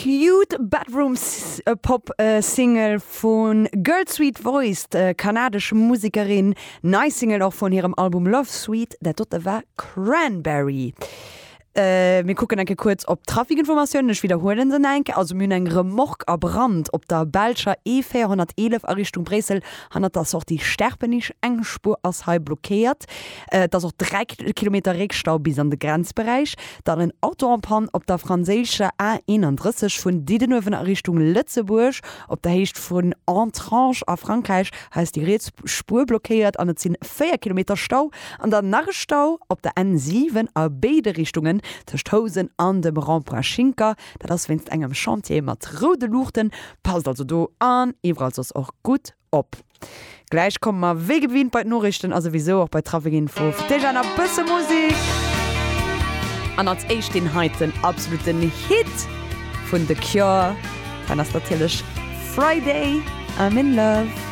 Cute Bedroom Pop Single vu Girl Sweet Voice, d'kanadesch Musekerin. Nei Single och vun hirem Album Love Suite, dat dote war Cranberry. Mir kucken eng Kéier kuerz op d'Trafikinformatiounen. Ech widderhuelen se nach eng Kéier. Also mir hunn eng Remorque a Brand op der belscher E 411 a Richtung Bréissel hannert der Sortie Sterpenich. Eng Spuer ass hei blockéiert. Et ass och 3 Kilometer Réckstau bis an de Grenzberäich. Dann en Auto en panne op der franséischer A 31 vun Diddenuewen a Richtung Lëtzebuerg op der Héicht vun Entrange a Frankräich. Hei ass déi riets Spuer blockéiert an et sinn 4 Kilometer Stau. An dann nach e Stau op der N 7 a béide Richtungen tëscht Housen an dem Rond-point Schinker. Dat ass wéinst engem Chantier mat roude Luuchten. Passt also do an iwwerall soss och gutt op. Gläich komme mer wéi gewinnt bei d'Noriichten a souwisou och bei d'Trafikinfo. Fir d'éischt awer nach e bësse Musek an als éischt deen heiten absoluten Hit vun The Cure. Dat ass natierlech Friday I'm in Love.